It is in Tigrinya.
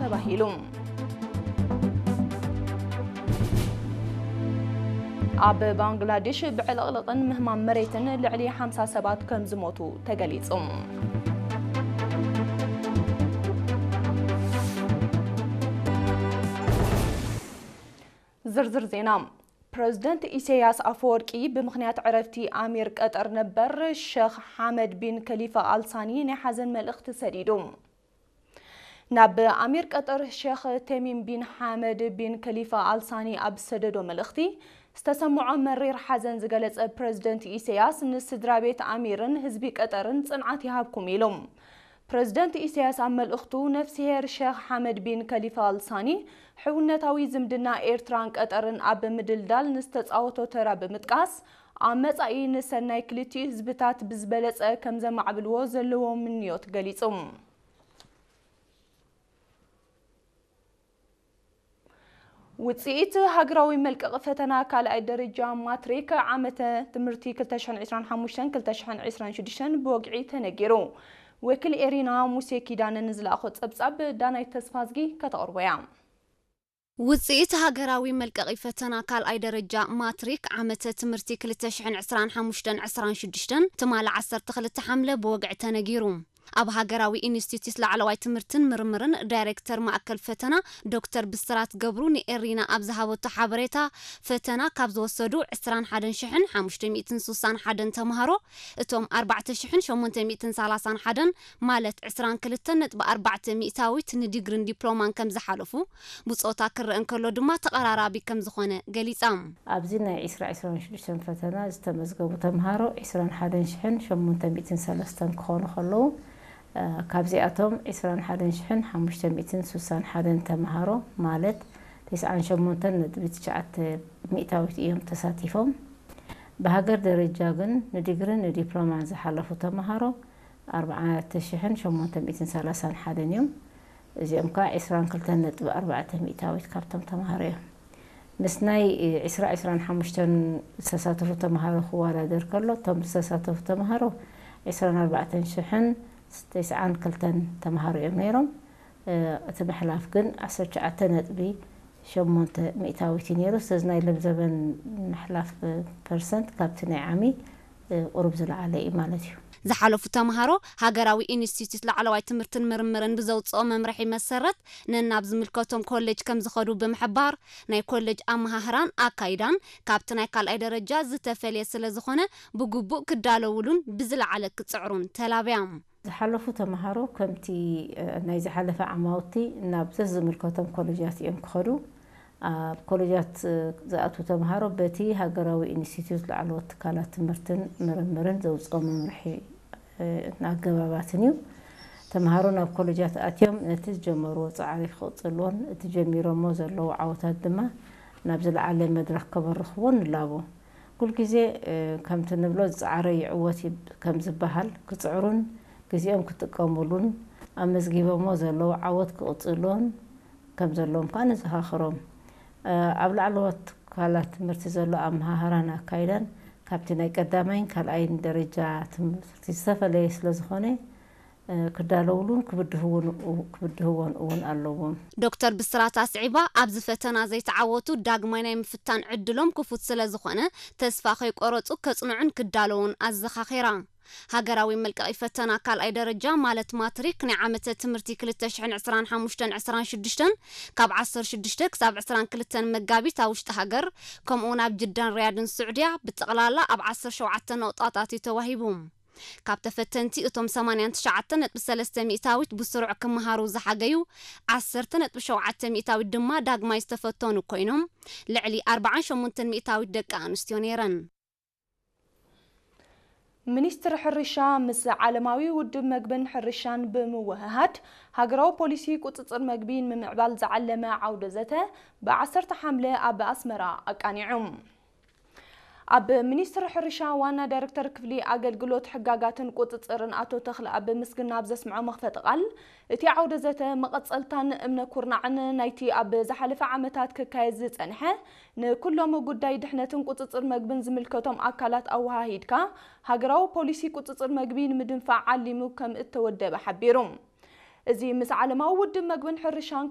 ተባሂሉ። ኣብ ባንግላዴሽ ብዕልቕልቕን ምህማም መሬትን ልዕሊ ሓምሳ ሰባት ከም ዝሞቱ ተገሊጹ። ዝርዝር ዜና። ፕረዚደንት ኢሳያስ ኣፈወርቂ ብምኽንያት ዕረፍቲ ኣሚር ቀጠር ነበር ሸኽ ሓመድ ቢን ከሊፋ ኣልሳኒ ናይ ሓዘን መልእኽቲ ሰዲዱ። ናብ ኣሚር ቀጠር ሸኽ ተሚም ቢን ሓመድ ቢን ከሊፋ ኣልሳኒ ኣብ ዝሰደዶ መልእኽቲ፣ ዝተሰምዖ መሪር ሓዘን ዝገለጸ ፕረዚደንት ኢሳያስ፣ ንስድራ ቤት ኣሚርን ህዝቢ ቀጠርን ጽንዓት ይሃብኩም ኢሉ። ፕረዚደንት ኢሳያስ ኣብ መልእኽቱ፣ ነፍስሄር ሸኽ ሓመድ ቢን ከሊፋ ኣልሳኒ ሕውነታዊ ዝምድና ኤርትራን ቀጠርን ኣብ ምድልዳል ንዝተጻወቶ ተራ ብምጥቃስ፣ ኣብ መጻኢ ንሰናይ ክልቲኡ ህዝብታት ብዝበለጸ ከም ዘማዕብልዎ ዘለዎ ምንዮት ገሊጹ። ውጽኢት ሃገራዊ መልቀቒ ፈተና ካልኣይ ደረጃ ማትሪክ ዓመተ ትምህርቲ ክልተ ሽሕን ዕስራን ሓሙሽተን ክልተ ሽሕን ዕስራን ሽዱሽተን ብወግዒ ተነጊሩ። ወኪል ኤሪና ሙሴ ኪዳነ ንዝለኣኾ ጸብጻብ ዳናይት ተስፋዝጊ ከተቕርቦ እያ። ውጽኢት ሃገራዊ መልቀቒ ፈተና ካልኣይ ደረጃ ማትሪክ ዓመተ ትምህርቲ ክልተ ሽሕን ዕስራን ሓሙሽተን ዕስራን ሽዱሽተን ትማሊ ዓሰርተ ክልተ ሓምለ ብወግዒ ተነጊሩ። ኣብ ሃገራዊ ኢንስቲትዩት ላዕለዋይ ትምህርትን ምርምርን ዳይሬክተር ማእከል ፈተና ዶክተር ብስራት ገብሩ ንኤሪና ኣብ ዝሃበቶ ሓበሬታ፣ ፈተና ካብ ዝወሰዱ ዕስራን ሓደን ሽሕን ሓሙሽተ ሚእትን ስሳን ሓደን ተምሃሮ፣ እቶም ኣርባዕተ ሽሕን ሸሞንተ ሚእትን ሰላሳን ሓደን ማለት ዕስራን ክልተን ነጥቢ ኣርባዕተ ሚእታዊት ንዲግሪን ዲፕሎማን ከም ዝሓለፉ፣ ብጾታ ክረአ እንከሎ ድማ ተቐራራቢ ከም ዝኾነ ገሊጻ። ኣብዚ ናይ ዕስራ ዕስራን ሽዱሽተን ፈተና ዝተመዝገቡ ተምሃሮ ዕስራን ሓደን ሽሕን ሸሞንተ ሚእትን ሰለስተን ክኾኑ ከለዉ፣ እ፣ ካብዚኣቶም ዕስራን ሓደን ሽሕን ሓሙሽተ ሚእትን ስሳን ሓደን ተምሃሮ ማለት ተስዓን ሸሞንተን ነጥቢ ትሽዓተ ሚእታዊት እዮም ተሳቲፎም። ብሃገር ደረጃ ግን ንዲግሪን ንዲፕሎማን ዝሓለፉ ተምሃሮ ኣርባዕተ ሽሕን ሸሞንተ ሚእትን ሰላሳን ሓደን እዮም። እዚኦም ከኣ ዕስራን ክልተን ነጥቢ ኣርባዕተ ሚእታዊት ካብቶም ተምሃሮ እዮም። ምስ ናይ ዕስራ ዕስራን ሓሙሽተን ዝተሳተፉ ተምሃሮ ክወዳደር ከሎ፣ እቶም ዝተሳተፉ ተምሃሮ ዕስራን ኣርባዕተን ሽሕን ተስዓን ክልተን ተምሃሮ እዮም ነይሮም። እ፣ እቲ ምሕላፍ ግን ዓሰርተ ትሽዓተ ነጥቢ ሸሞንተ ሚእታዊት እዩ ነይሩ። ስለዚ ናይ ለምዘበን ምሕላፍ ፐርሰንት ካብቲ ናይ ዓሚ፣ እ፣ ቁሩብ ዝለዓለ እዩ ማለት እዩ። ዝሓለፉ ተምሃሮ ሃገራዊ ኢንስቲትዩት ላዕለዋይ ትምህርትን ምርምርን ብዘውፅኦ መምርሒ መሰረት ነናብ ዝምልከቶም ኮሌጅ ከም ዝኸዱ ብምሕባር፣ ናይ ኮሌጅ ኣመሃህራን ኣካይዳን ካብቲ ናይ ካልኣይ ደረጃ ዝተፈልየ ስለ ዝኾነ፣ ብግቡእ ክዳለውሉን ብዝለዓለ ክጽዕሩን ተላብያ። ዝሓለፉ ተምሃሮ ከምቲ፣ እ፣ ናይ ዝሓለፈ ዓማውቲ ናብ ዘዝምልከቶም ኮሌጃት እዮም ክኸዱ። ኣብ ኮሌጃት፣ እ፣ ዝኣትዉ ተምሃሮ በቲ ሃገራዊ ኢንስቲትዩት ላዕለዎት ትካላት ትምህርትን ምርምርን ዘውፅኦ መምርሒ፣ እ፣ ኣገባባትን እዩ። ተምሃሮ ናብ ኮሌጃት ኣትዮም ነቲ ዝጀመርዎ ጻዕሪ ክቕጽልዎን እቲ ጀሚሮሞ ዘለዉ ዓወታት ድማ ናብ ዝለዓለ መድረኽ ከበርኽዎ ንላቦ። ኩልግዜ፣ እ፣ ከምቲ ንብሎ ዝጸዓረ ይዕወት ይብ-፣ ከም ዝበሃል፣ ክጽዕሩን ግዜኦም ክጥቀሙሉን ኣመዝጊቦሞ ዘለዉ ዓወት ክቕጽልዎን ከም ዘለዎም ከኣ ነዘኻኽሮም። እ፣ ኣብ ላዕለዎት ትካላት ትምህርቲ ዘሎ ኣመሃህራን ኣካይዳን ካብቲ ናይ ቀዳማይን ካልኣይን ደረጃ ትምህርቲ ዝተፈለየ ስለ ዝኾነ፣ እ፣ ክዳለውሉን ክብድህውን-፣ ክብድህዎን እውን ኣለዎም። ዶክተር ብስራት ኣስዒባ፣ ኣብዚ ፈተና ዘይተዓወቱ ዳግማይ ናይ ምፍታን ዕድሎም ክፉት ስለ ዝኾነ፣ ተስፋ ከይቆረጹ ከጽንዑን ክዳለዉን ኣዘኻኺራ። ሃገራዊ መልቀቒ ፈተና ካልኣይ ደረጃ ማለት ማትሪክ ናይ ዓመተ ትምህርቲ ክልተ ሽሕን ዕስራን ሓሙሽተን ዕስራን ሽዱሽተን ካብ ዓሰርተ ሽዱሽተ ክሳብ ዕስራን ክልተን መጋቢት ኣብ ውሽጢ ሃገር፣ ከምኡውን ኣብ ጅዳን ሪያድን ስዑድያ ብጠቕላላ ኣብ ዓሰርተ ሸውዓተ ነቑጣታት እዩ ተዋሂቡ። ካብ ተፈተንቲ እቶም ሰማንያን ትሽዓተን ነጥቢ ሰለስተ ሚእታዊት ብስሩዕ ክመሃሩ ዝሓገዩ፣ ዓሰርተ ነጥቢ ሸውዓተ ሚእታዊት ድማ ዳግማይ ዝተፈተኑ ኮይኖም፣ ልዕሊ ኣርባዓን ሸሞንተን ሚእታዊት ደቂ ኣንስትዮ ነይረን። ሚኒስትሪ ሕርሻ ምስ ዓለማዊ ውድብ መግብን ሕርሻን ብምውህሃድ፣ ሃገራዊ ፖሊሲ ቁጽጽር መግቢ ንምምዕባል ዝዓለመ ዓውደ ዘተ ብዓሰርተ ሓምለ ኣብ ኣስመራ ኣቃኒዑ። ኣብ ሚኒስትሪ ሕርሻ ዋና ዳይሬክተር ክፍሊ ኣገልግሎት ሕጋጋትን ቁጽጽርን ኣቶ ተኽለኣብ ምስግና ኣብ ዘስምዖ መኽፈቲ ቃል፣ እቲ ዓውደ ዘተ መቐጸልታን እምነ ኩርናዕን ናይቲ ኣብ ዝሓለፈ ዓመታት ክካየድ ዝጸንሐ ንኩሎም ጉዳይ ድሕነትን ቁጽጽር መግብን ዝምልከቶም ኣካላት ኣወሃሂድካ ሃገራዊ ፖሊሲ ቁጽጽር መግቢ ንምድንፋዕ ዓሊሙ ከም እተወደበ ሓቢሩ። እዚ ምስ ዓለማዊ ውድብ መግብን ሕርሻን